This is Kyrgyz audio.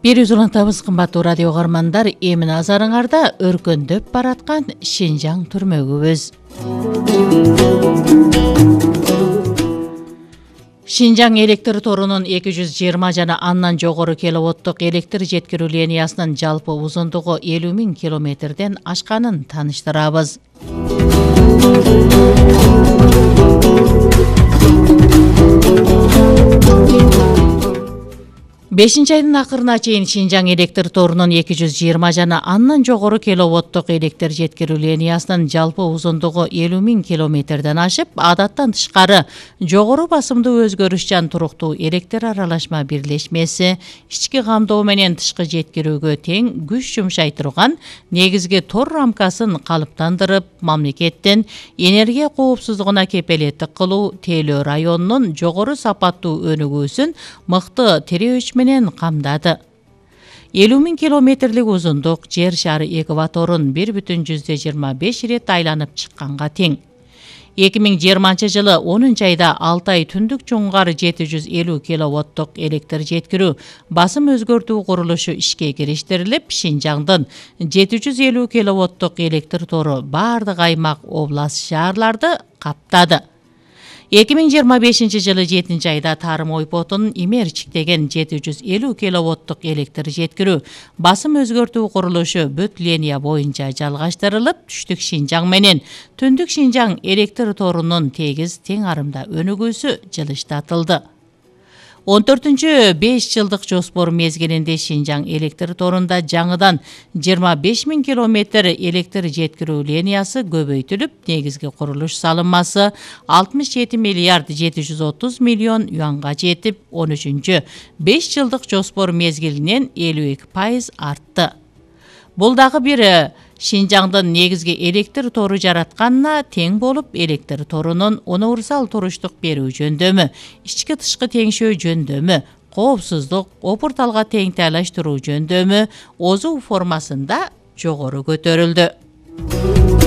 Бир улантабыз кымбаттуу радио каармандар, эми назарыңарда өркөндөп бараткан Шинжаң түрмөгүбүз. Шинжаң электр торунун 220 жана андан жогору киловаттык электр жеткирүү линиясынын жалпы узундугу 50.000 километрден ашканын тааныштырабыз. 5-айдын акырына чейин Шинжаң электр торунун 220 жана андан жогору киловаттык электр жеткирүү линиясынын жалпы узундугу 50.000 километрден ашып, адаттан тышкары жогору басымдуу өзгөрүшчан туруктуу электр аралашма бирлешмеси ички камдоо менен тышкы жеткирүүгө тең күч жумшай турган негизги тор рамкасын калыптандырып, мамлекеттин энергия коопсуздугуна кепелеттик кылуу Тейлөө районунун жогору сапаттуу өнүгүүсүн мыкты тирөөч менен камдады. 50.000 километрлик узундук жер шары экваторун 1,25 ирет айланып чыкканга тең. 2020 жылы 10-айда Алтай түндүк чуңгар 750 киловаттык электр жеткирүү басым өзгөртүү курулушу ишке кириштирилип, Шинжаңдын 750 киловаттык электр тору бардык аймак, област, шаарларды каптады. 2025 жылы 7-айда Тарым ойпотунун Имерчиктеген 750 киловаттык электр жеткирүү басым өзгөртүү курулушу бүт линия боюнча жалгаштырылып, түштүк Шинжаң менен түндүк Шинжаң электр торунун тегиз тең арымда өнүгүүсү жылыштатылды. 14-5 жылдык жоспор мезгилинде Шинжаң электр торунда жаңыдан 25.000 километр электр жеткирүү линиясы көбөйтүлүп, негизги курулуш салынмасы 67 миллиард 730 миллион юанга жетип, 13-5 жылдык жоспор мезгилинен 52% артты. Бул дагы бир Шинжаңдын негизги электр тору жаратканына тең болуп, электр торунун универсал туруштук берүү жөндөмү, ички тышкы теңшөө жөндөмү, коопсуздук, опурталга тең тайлаштыруу жөндөмү ОЗУ формасында жогору көтөрүлдү.